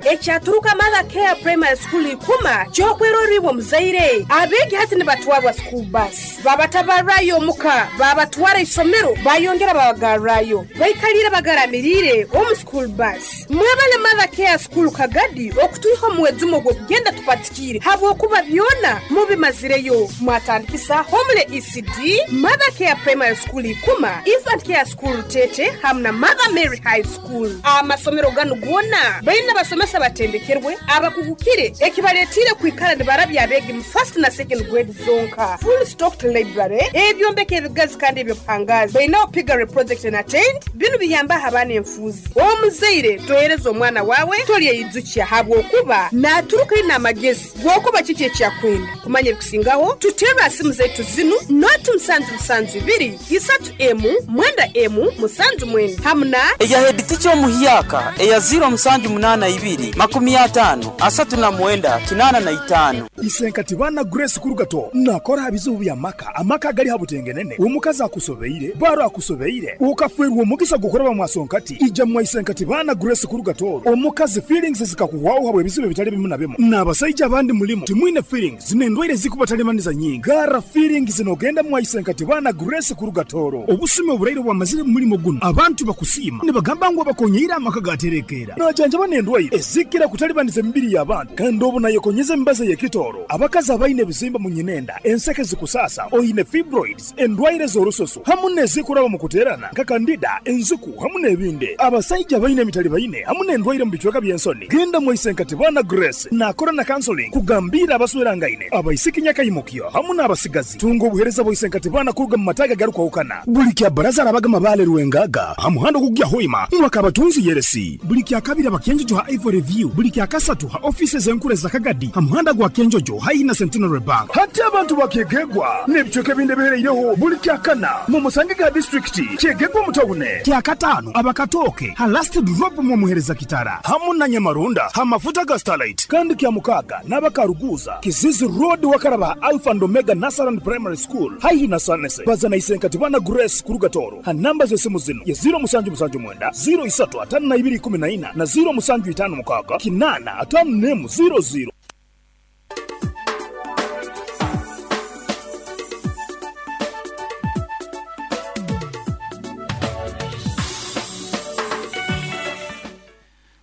Ekyaturuka Mother Care Primary School Ikuma ky'okwerorra iwe omuzaire. Abeegi hati nibatwarwa school bus. Babatabarrayo omuka, babatwara isomero, bayongera babagarrayo. Baikaliire bagaramiriire omu school bus. Mwebale Mother Care School Kagadi okutwiha omu mwejumo gw'okugenda tupatikiire habwokuba byona mubimazireyo. Mwatandikisa Homely ECD, Mother Care Primary School Ikuma, Infant Care School Rutete hamu na Mother Mary High School. Amasomero ganu goona baine abasomesa abatendekerwe, abakugukire ekibaletiire kwikara nibarabya abeegi mu first na second grade zonka. Full stocked library, ebyombeko ebigazi kandi eby'obuhangaazi. Bainaho piggery project and attend. Binu biyambaho abaana enfuuzi. Omuzaire tohereza omwana waawe tolyeyijukya habwokuba naaturuka aine amagezi g'okuba kiki eki akwenda. Kumanya ebikusingaho, tuterre ha simu zaitu zinu, noti musanju musanju ibiri, isatu emu, mwenda emu, musanju mwenda hamu na. Eya heeditica omuhyaka eya ziiro musanju munaana ibiri, makumi ataano, asatu na mwenda, kinaana na itaano. Isenkati baana Grace Kurugato nakora aha bizibu bya maka, amaka agali ha butengenene, omukazi akusobeire, baro akusobeire, okafwerwa omugisa gw'okuraba mwasonkati, ija mwa Isenkati baana Grace Kurugato, omukazi feelings zikakuhwaho habw'ebizibu ebitali bimu na bimu, n'abasaija abandi mulimu timwine feelings n'endwaire ezikubatalimanisa nyingi, garra feelings nogenda mwa Isenkati baana Grace Kurugatoro. Obusumi oburaire obwamazire mu mulimo gunu, abantu bakusiima nibagamba ngu abakonyeire amaka gaterekeera. Najanjaba n'endwaire ezikira kutalibaniza emibiri y'abantu kandi obu nayekonyeza emibazi ey'ekitooro. Abakazi abaine ebizimba mu nyinenda, enseke zikusaasa, oine fibroids, endwaire z'orususu hamu n'ezikuraba omu kuteerana nka kandida, enziku hamu n'ebindi. Abasaija abaine emitalibaine hamu n'endwaire omu bicweka by'ensoni, genda mwaise nka Tibana Grace naakora na counseling kugambiira abaswerangaine, abaisiki nyakaimukyo hamu n'abasigazi. Tunga obuheereza bwa Isenkatibana kuruga mu mataagi agarukwahukana. Buli kya Bbaraza arabaga Mabaale Rwengaga ha muhanda ogukugya Hoima mwaka Abatunzi Yeresi. Buli kya Kabiri aba Kyenjojo ha Ivory View. Buli kya Kasatu ha ofiisi ez'enkuru eza Kagadi ha muhanda gwa Kyenjojo haihi na Centenary Bank. Hati abantu ba Kyegegwa n'ebicweka ebindi ebihereireho buli kya Kana mu musange ga disiturikiti Kyegegwa omu tawune. Kya Kataano aba Katooke ha Last Drop mw'omuhereza Kitara hamu na Nyamarunda ha mafuta ga Starlight. Kandi kya Mukaaga N'aba Karuguuza, Kizizi Road wakaraba ha Alpha and Omega Nursery and Primary School haihi na Sanese. Baza na Isenkati Bwana Grace kuruga Tooro ha namba z'esimu zinu ye ziiro musanju musanju mwenda, ziiro isatu ataano na ibiri ikumi na ina na ziiro musanju itaano mukaaga kinaana ataano n'emu ziiro ziiro.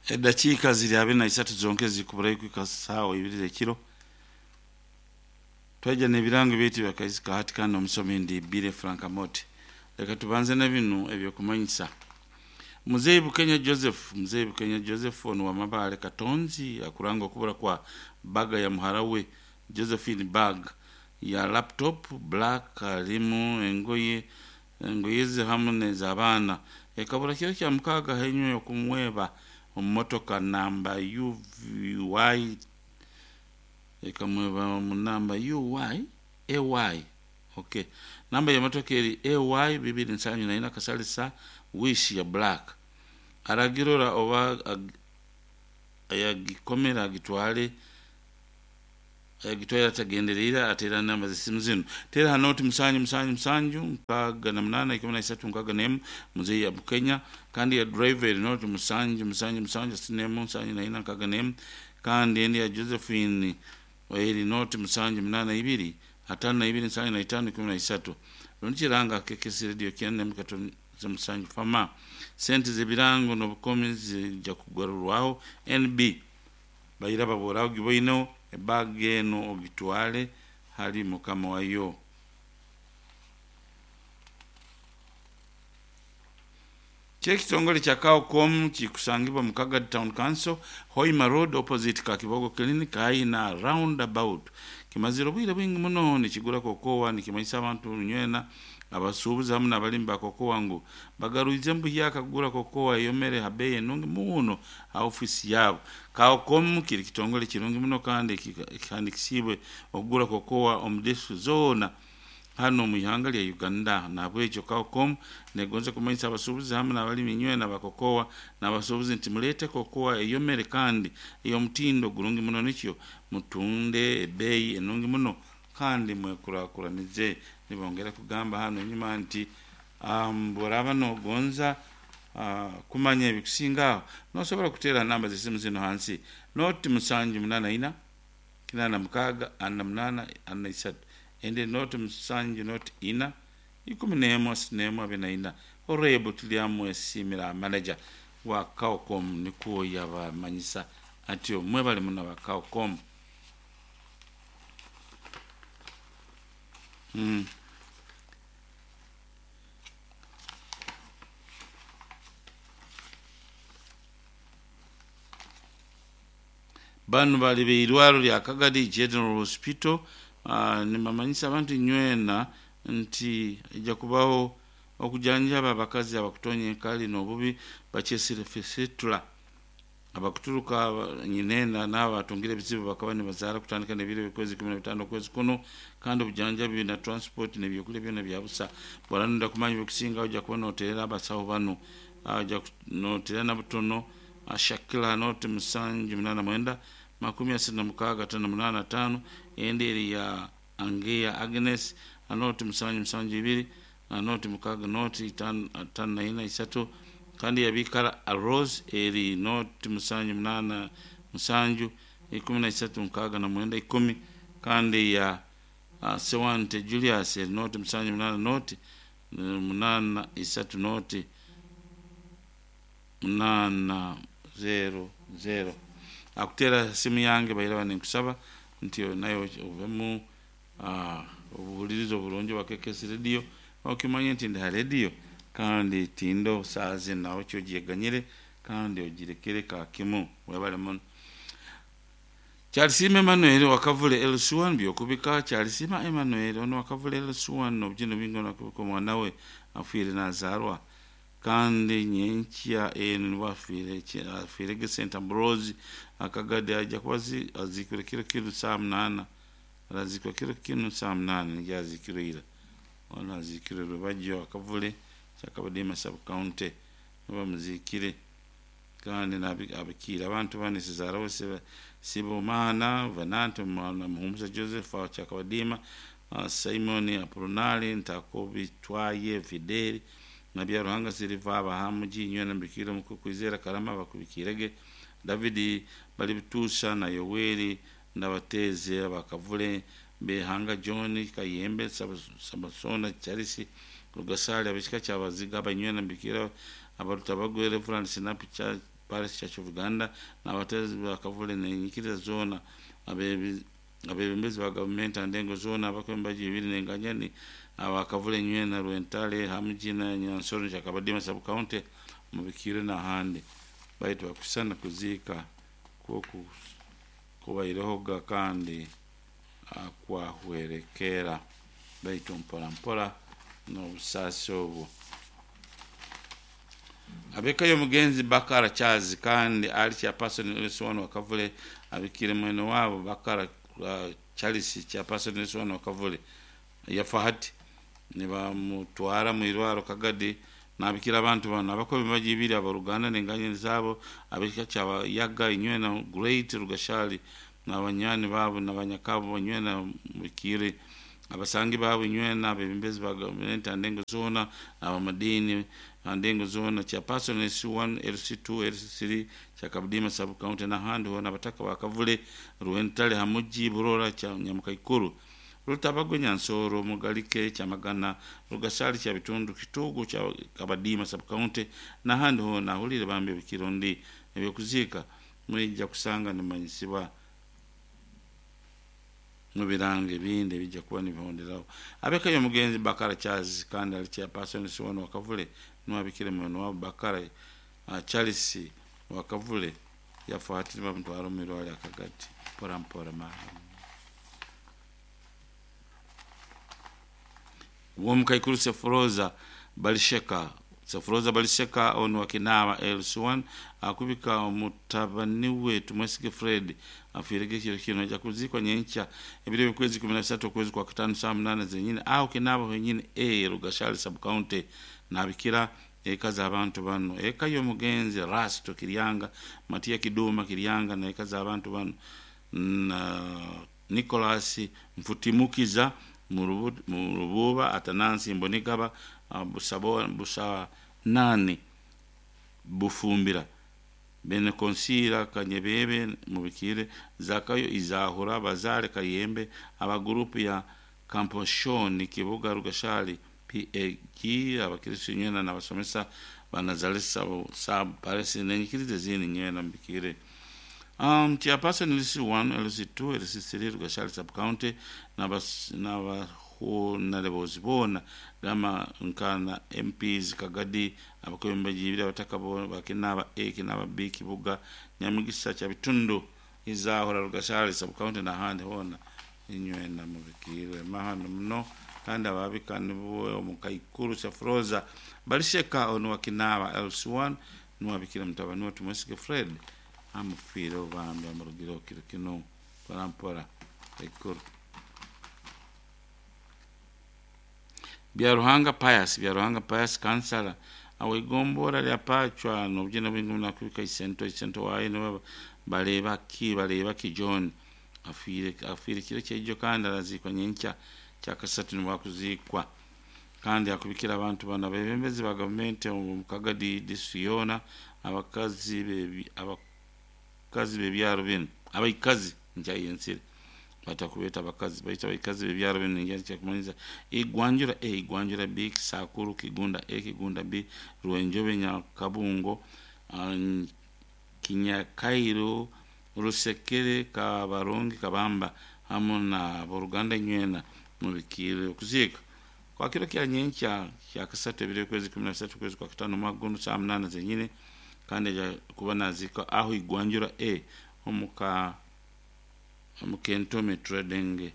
Edakiika ziri abiri na isatu zonka ezirikuburayo kuhika saawa ibiri z'ekiro, twaija n'ebirango byaitu ebya Kaisi ka hati kandi omusomi ndi Billy Frank Amooti. Leka tubanze na binu eby'okumanyisa. Muzeeyi Bukenya Joseph Muzeeyi Bukenya Joseph onu wa Mabaale Katonzi akuranga okubura kwa baga ya muhara we Josephine bag ya laptop black harimu engoye Engoye ze hamu n'ez'abaana. Ekabura kiro kya mukaaga hanyuma y'okumweba omu motoka namba UVY ekamweba omu namba UY AY ok namba y'emotoka eri AY bibiri nsanju na ina kasalisa Wish ya black. Aragirora oba ayagikomera agitwale. Ayagitwaire atagendereire ateera namba z'esimu zinu, Teera ha nooti musanju musanju musanju nkaaga na munaana ikumi na isatu nkaaga n'emu Muzeeyi ya Bukenya kandi eya driver eri nooti musanju musanju musanju asatu n'emu nsanju na ina nkaaga n'emu kandi endi ya Josephine eri nooti musanju munaana ibiri ataano na ibiri nsanju na itaano ikumi na isatu Rundi kiranga KKC Radio kyenda n'emu katonze musanju Fama Sente z'ebirango n'obukomi zija kugarurwaho NB Baira baboora ogiboineho ebag enu ogitwale hali mukama wayo. Ky'ekitongole kya Cowcom kikusangibwa mu Kagadi Town Council, Hoima Road opposite Kakibogo Clinic haihi na Round About. Kimazire obwire bwingi muno nikigura kokowa nikimanyisa abantu nywena Abasuubuzi hamu n'abalimi ba kokowa ngu bagarwize buhyaka kugura kokowa eyomere ha beeyi enungi muno ha ofiisi yaabo. Cowcom kiri kitongole kirungi muno kandi ekihandikisiibwe okugura kokowa omu disiturikiti zoona hanu omu ihanga lya Uganda. Nahabwekyo Cowcom negonza kumanyisa abasuubuzi hamu n'abalimi inywena ba kokowa n'abasuubuzi nti muleete kokowa eyomere kandi ey'omutindo gurungi muno nikyo mutunde ebeeyi enungi muno kandi mwekurakuranize. Nibongera kugamba hanu enyuma nti, Bworaaba nogonza kumanya ebikusinga aho, nosobora kuteera namba z'esimu zino hansi: 0 784 86 48 43, ende 0 7 0 4 11 31 24. Horebu tulyamwesimira manager wa Cowcom nikuwo yabamanyisa atyo. Mwebale muno ba Cowcom. Banu bali beirwaro lya Kagadi General Hospital. Nimamanyisa abantu nywena nti ijja kubaho okujanjaba abakazi abakutonya enkali n'obubi bakyesire fistula, abakuturuka nyinenda n'abo batungire ebizibu bakaba nibazaara, kutandika n'ebiro eby'okwezi 15 okwezi kuno, kandi obujanjabi na transport n'ebyokulya byona bya busa. Bwaranunda kumanya ebikusinga, ojja kuba noterera abasawo banu, ojja noterera na butono Shakila 0 789 36 58 5, endi eri ya Angea Agnes 0 7 7 2 0 6 0 5 5 4 3, kandi yabikara Rose eri 0 7 8 7 13 69 10, kandi ya Sewante Julius eri 0 7 8 0 8 3 0 8 0 0. Akutera simu yange bairaba ninkusaba nti nayo ovemu obuhulirizo oburungi bwa KKS Radio, okimanye nti ndi ha radio kandi tindo saazi nawe kyogyeganyire kandi ogirekere kakimu. Webale muno. Kyalisima Emmanuel wakavule LC1 byokubika. Kyalisima Emmanuel ono wakavule LC1 obugino bingi nakubika omwana we afiire nazarwa, kandi nyenkya eno nibo afiire, afiire St Ambrose Akagade. Ajja kuba azikirwe kiro kinu saa 8, arazikwa kiro kinu saa 8, nijja azikirwe ira. Ono azikirwe Rubajjo Akavule Kyakabadima sub county nibamuzikire, kandi abikiire abantu bane: Cesaro Sibomana Venante na Muhumuza Joseph wa Kyakabadima, Simon Apolonari Ntakobitwaye Fideli na Byaruhanga Siliva abahamuji nywena mbikire mu kwizera Karama bakubikirege David Balibitusha na Yoweri Ndabateze abakavule Behanga John Kayembe Samasona Charles Rugasali abishika kyabaziga abanywena mbikira abaruta bagwe Reverend Sinapi cha Parish Church of Uganda n'abatezi bakavule nenyikiriza zona, abebembezi ba gavumenti andengo zona, abakwembaji ibiri nenganyani abakavule nywena Rwentale hamuji na Nyansoro Kyakabadima sub county mubikire n'ahandi baitu bakusana kuziika kwoku kubairehoga kandi akwahwerekera baitu mpora mpora n'obusaasi obwo. Abekayo omugenzi Bakara Charles kandi ali chairperson LC1 wakavule abikire mwene wabo Bakara Charles chairperson LC1 wakavule yafa hati nibamutwara mu irwaro Kagadi. Nabikira abantu bano abakobi bajibiri abaruganda nenganye zabo abekika kyaba Yaga inywena Great Rugashali n'abanyani babo n'abanyakabo nywena mukire abasangi babo nywena abebembezi ba gavumenti andengo zona abamadini andengo zona chairperson LC1 LC2 LC3 Kyakabudima sub county n'ahandi hona abataka bakavule Rwentale hamuji Burora kya Nyamukaikuru Rutabagwe Nyansoro Mugalike Kyamagana Rugasali kya bitundu Kitugu kya Kabadima sub county n'ahandi hona. Ahulire bambi ebikirundi ebyokuziika mwijja kusanga nimanyisibwa mu birango ebindi ebijja kuba nibihonderaho. Abekayo omugenzi Bakara Charles kandi ali chairperson siwano wakavule niwabikire mwene wabo Bakara Charles wakavule yafa hati bamutwara omu irwaro Akagati mpora mpora mara womukaikuru Sefuroza Balisheka. Sefuroza Balisheka ono wakinaba LC1 akubika omutabani we Tumwesige Fred afiirege kiro kino, ajja kuzikwa nyenkya ebiro eby'okwezi 13 okwezi kwa katano saa 8 zenyine aho kinaba wenyine e Rugashali sub county. Nabikira eka z'abantu bano: eka y'omugenzi Rasto Kiryanga, Matiya Kiduma Kiryanga na eka z'abantu bano na Nicholas Mfutimukiza mu Rububa, Atanansi Mbonigaba, Busanani. Bufumbira, Bene Konsira Kanyebebe mubikire, Zakayo Izahura Bazale Kayembe, abagurupu ya Kamposhoni Kibuga Rugashali PAG, abakristo nywena n'abasomesa banazalesa sab paresi nenyikiriza ezindi nywena mubikire. Chairperson LC1, LC2, LC3 Rugashali sub county n'abahunarebozi boona gama nkana MPs Kagadi, abakwembeji abataka bakinaba A kinaba B Kibuga Nyamugisa kya bitundu Izahura Rugashali sub county n'ahandi hoona inywena mubikirwe mahano muno. Kandi ababika nibo omukaikuru Safroza Balisheka ono wakinaba LC1 nuwabikira mutabani we Tumwesige Fred amufiire obambi amurugire kiro kino mpora mpora ekuru. Byaruhanga Pius, Byaruhanga Pius kansala awegombora lya Pachwa nobujena bwingi munakubika isento isento waye niwe bareba ki bareba ki John afiire afiire kiro kyaijo kandi arazikwa nyenkya kyakasatu nibwakuzikwa. Kandi akubikira abantu bana abebembezi ba gavumenti omu Kagadi district yoona, abakazi bebi abakazi b'ebyaro binu, abaikazi nkyayensire batakubeta abakazi baita abaikazi b'ebyaro binu ningira kyakumanyisa Igwanjura A, Igwanjura B, Kisakuru, Kigunda A, Kigunda B, Rwenjobe, Nyakabungo, Kinyakairo, Rusekere, Kabarongi, Kabamba hamu na boruganda nywena mubikire okuziika kwa kiro kya nyenkya kya kasatu ebiro kwezi 13 kwezi kwa katano mwaka guno saa 8 zenyine. Kandi aja kuba nazika aho Igwanjura A omuka omukentome Trading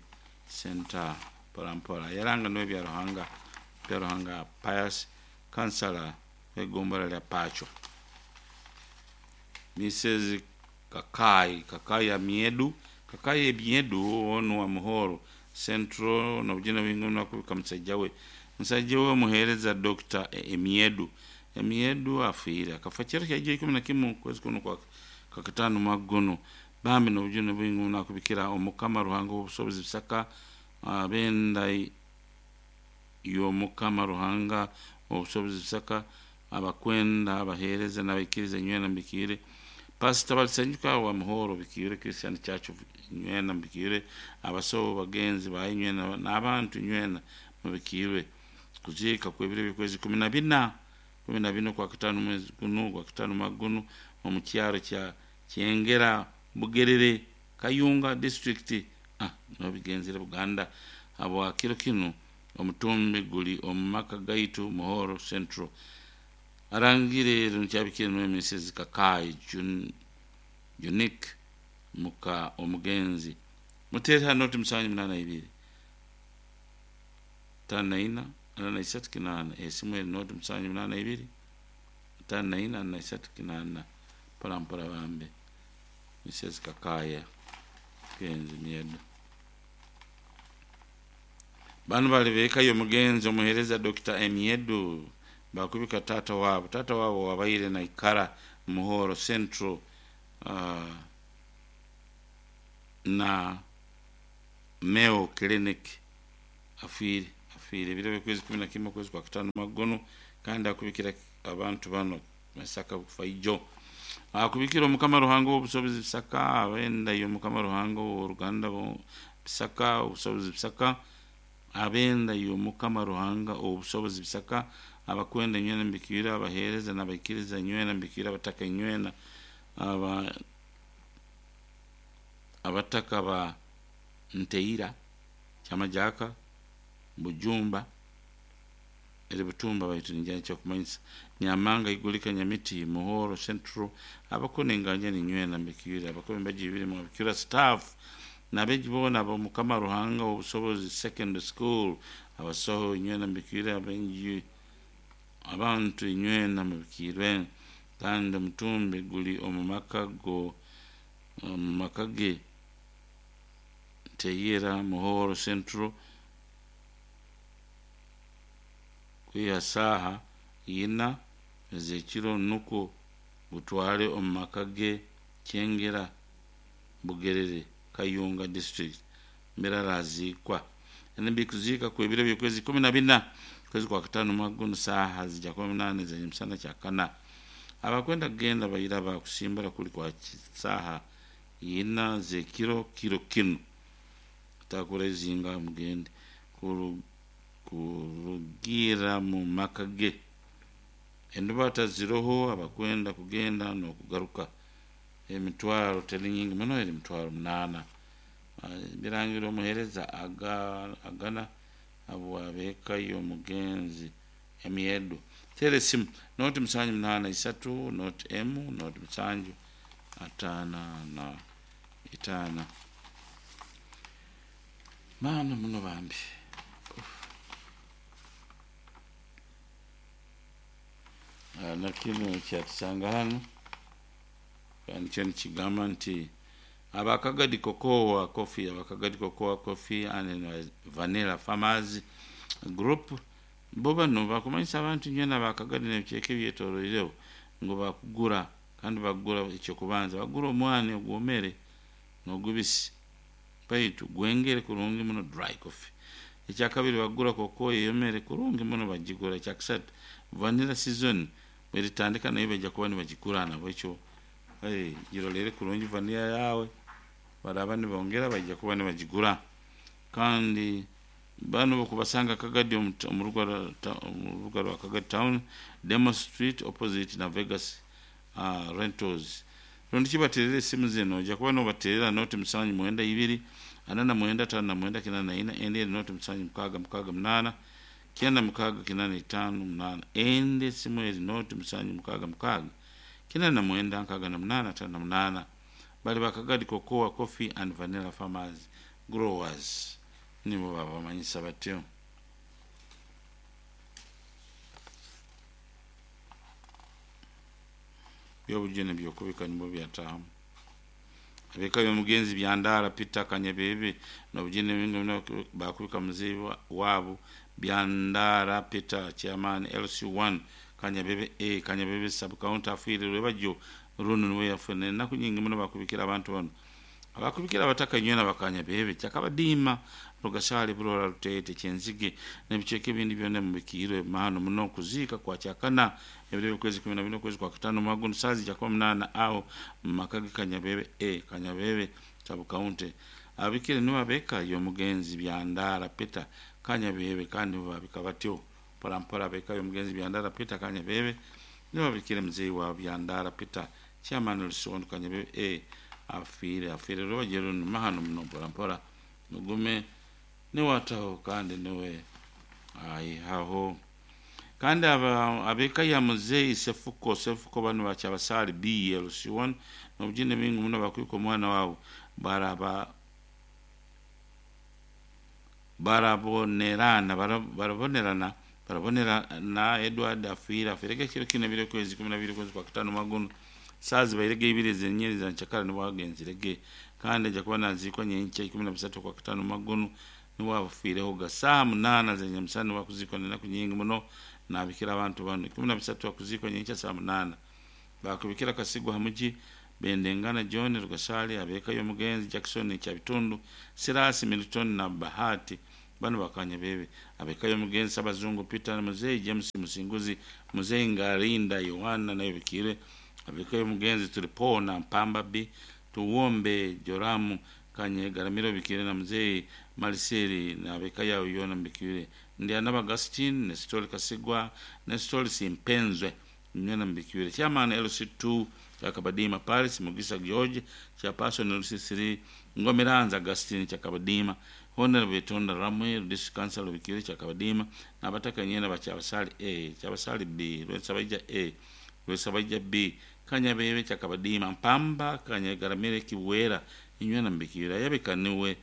Center mpora mpora. Yaranga niwe Byaruhanga Byaruhanga Pius kansala w'egombora lya Pacho. Mrs Kakai Kakai ya Miedu Kakai Miedu ono wa Muhoro Central nobujena bwingi nakubika musajja we omuheereza Dr. Emiedu Emiedu afiire akafa kiro kyaijo 11 kwezi kuno kwa kakatano mwaka guno. Bambi nobujena bwingi nakubikira Omukama Ruhanga obusobozi Bisaka abenda y'Omukama Ruhanga obusobozi Bisaka abakwenda abaheereza n'abaikiriza nywena mbikire. Pastor Balisenyuka wa Muhoro bikire, Christian Church nywena mbikire, abasobo bagenzi baye nywena n'abantu nywena mubikirwe. Kuziika kwebiro by'okwezi 14 14 kwa katano mwezi guno kwa katano mwaka guno omu kyaro kya Kyengera Bugerere Kayunga district nobigenzere Buganda. Habwa kiro kino omutumbi guli omu maka gaitu Muhoro Central. Arangire nkyabikire niwe Mrs Kakai Junik muka omugenzi. Mutere hano 782 54 43 8 esimu eri noti 782 54 43 8 mpora mpora bambe Mrs Kakaya genzi myedo. Bano bali bekayo omugenzi omuhereza Dr. Emiedu bakubika tata wabo wabaire na ikara Muhoro Central na Meo Clinic afiire ebiro by'okwezi 11 kwezi kwa katano magono. Kandi akubikira abantu bano Masaka kufaijo akubikira Omukama Ruhanga obusobozi Bisaka abenda y'Omukama Ruhanga oruganda Bisaka obusobozi Bisaka abenda y'Omukama Ruhanga obusobozi Bisaka abakwenda nywena mbikira abaheereza n'abaikiriza nywena mbikira abataka nywena abataka ba Nteira Kyamajaka Bujumba eri Butumba baitu ninjana kyakumanyisa Nyamanga Igulika Nyamiti Muhoro Central abakone nganja ni nywena mbikira abakome mbaji biri mu bikira staff nabeji bona ab'Omukama Ruhanga obusobozi secondary school abasoho nywena mbikira abenji abantu nywena mubikirwe. Kandi omutumbi guli omu maka go omu maka ge Teyera Muhoro Central kwiha saaha 4 ez'ekiro nukwo gutwale omu maka ge Kyengera Bugerere Kayunga district mbere arazikwa. Ene kuziika kwebiro by'okwezi 14 kwezi kwa katano mwaka guno saaha zija kuba 8 z'emisana kya kana. Abakwenda kugenda bairaba kusimbura kuli kwa saha ina z'ekiro kiro kinu. Takura ezinga mugende kurugira mu maka ge. Endubata ziroho abakwenda kugenda n'okugaruka. Emitwaro teri nyingi muno, eri 800,000. Birangira omuhereza agana habwabeka y'omugenzi emyedo. Tera esimu 0 7 8 3 0 M 0 7 5 5. Maana muno bambi. Na kinu kyatusanga hano kandi kyo nikigamba nti abakagadi cocoa coffee, abakagadi cocoa coffee and vanilla farmers group bo bano bakumanyisa abantu nyena abakagadi n'ebicweka ebyetoroireho ngu bakugura, kandi bakugura ekyokubanza bagura omwani ogwomere n'ogubisi baitu gwengere kurungi muno, dry coffee. Ekyakabiri bagura cocoa eyomere kurungi muno, bagigura. Ekyakusatu vanilla season bweritandika nayo bajja kuba nibagigura. Nabwekyo girolere kurungi vanilla yawe, baraba nibongera bajja kuba nibagigura. Kandi bano bokubasanga Kagadi omu rubuga rwa Kagadi town, Demo Street, opposite na Vegas Rentals. Rundi kibaterera esimu zino, ojja kuba nobaterera 0 7 92 49 59 84, endi eri 0 7 6 6 8 9 6 8 5 8, endi esimu eri 0 7 6 6 99 68 58. Bali bakagadi cocoa coffee and vanilla farmers growers nibo babamanyisa batyo. Byobujune byokubika nibwo byatahamu. Abeka y'omugenzi Byandara Peter Kanyabebe nobujune bakubika muzeyi wabo Byandara Peter, chairman LC1 Kanyabebe A, Kanyabebe sub county, afiire lwebajjo runo niwe yafuna ennaku nyingi muno. Bakubikira abantu bano, abakubikira abataka nywena bakanyabebe kyakabadiima Rugasale, Burora, Rutete, Kyenzige n'ebicweka ebindi byonna mubikiirwe mahano muno. Kuziika kwa kyakana ebiro by'okwezi 14 okwezi kwa katano mwaguno saazi jakuba 8 aho mu maka ge Kanyabebe A, Kanyabebe sub county. Abikire nibo abeka y'omugenzi Byandara Peter Kanyabebe, kandi nibo babika batyo mpola mpola. Abeka y'omugenzi Byandara Peter Kanyabebe nibo babikire muzeeyi wa Byandara Peter, chairman Lusondo Kanyabebe A, afiire afiire lwebajero mahano muno. Mpola mpola mugume niwataho kandi niwe ayihaho. Kandi aba abeka ya muzeeyi Sefuko, Sefuko bano bakyabasaali BLC1 nobujine bingi muno bakwika omwana wabo baraba barabonerana barabonerana barabonerana Edward afiire afiireko ekiro kino ebiro kwezi 12 kwezi kwa katano maguno saazi bairege ibiri zenyeri za nchakara nibo agenzirege, kandi ajja kuba naziikwa nyenkya 13 kwa katano maguno niwo afiireho ga saaha 8 zenyamusana niwo akuzikwa nenaku nyingi muno. Nabikira abantu bano 13 akuzikwa nyenkya saa 8. Bakubikira Kasigwa hamuji Bendengana John Rugasali, abeka y'omugenzi Jackson Kyabitundu, Sirasi Milton na Bahati bano bakanya bebe, abeka y'omugenzi Sabazungu Peter, Muzeyi James Musinguzi, Muzeyi Ngarinda Yohana nayo bikire. Abeka y'omugenzi Tulipona Mpamba B Tuwombe Joramu Kanye Garamiro bikire na Muzeyi Maliseri na abeka yawo yona mbikire. Ndi anaba Agustin Nestori Kasigwa, Nestori Simpenzwe nyona mbikire. Chairman LC2 Chakabadima Paris Mugisa George, chairperson LC3 Ngomiranza Agustin Chakabadima, Honorable Tonda Ramwe District Council bikire Chakabadima n'abataka nyena bakyabasali A, Kyabasali B, Lwesabaija A, Lwesabaija B, Kanyabebe Chakabadima, Mpamba Kanyagaramire Kiwera inywena mbikira. Yabikaniwe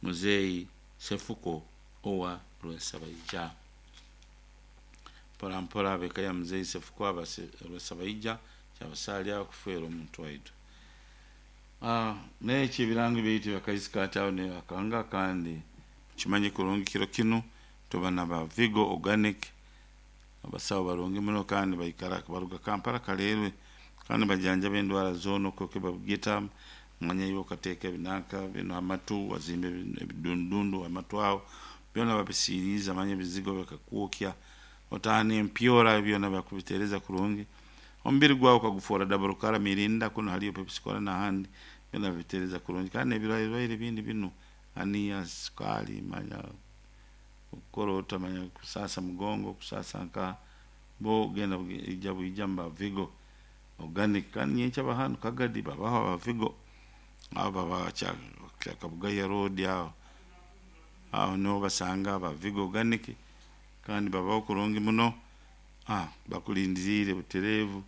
muzeyi Sefuko owa Lwesabaija. Mpola mpola abeka ya muzeyi Sefuko aba Lwesabaija kyabasali akufeera omuntu waitu. Nekyo ebirango byaitu byakaisikaati aho ne akanga. Kandi kimanye kurungi kiro kinu tuba na ba Vigo Organic, abasawo barungi muno kandi baikara baruga Kampala Kaleerwe, kandi bajanjaba endwara zoona okwo babugita manya iwe okateeka ebinanka bino amatu wazimba ebidundundu amatu aho byona babisiiriza manya ebizigo bikakwokya otaana empyora byona bakubiteereza kurungi. Omubiri gwawe ukagufoora double kara mirinda kuno haliyo Pepsi Cola n'ahandi byona bitereza kurungi, kandi n'ebirwaire bindi binu aniya, sukali, manya kukorota, manya kusasa mugongo, kusasa nka bo genda ija bwija mba Vigo Organic. Kandi nyenkya bahanu Kagadi babaho aba Vigo abo baba kya Kabugaya Road, aho aho niho basanga aba Vigo Organic, kandi babaho kurungi muno. Bakulindiriire butereevu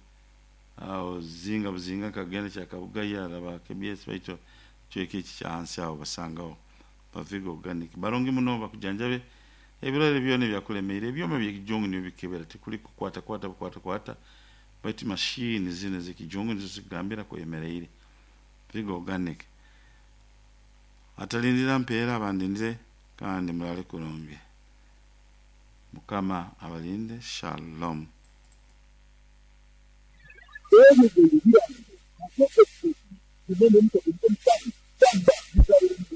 aho zinga buzinga kagenda kya Kabugaya araba KBS, baitu kicweka eki kya hansi aho basangaho ba Vigo Organic barungi muno, bakujanjabe ebirwaire byona ebyakulemeire. Ebyoma by'ekijungu nibyo bikebera, tikuli kukwata kwata bukwata kwata, baitu mashini zinu ez'ekijungu nizo zikugambira kwemereire. Vigo Organic atalindira mpeera abandindire, kandi murale kurungi. Mukama abalinde. Shalom.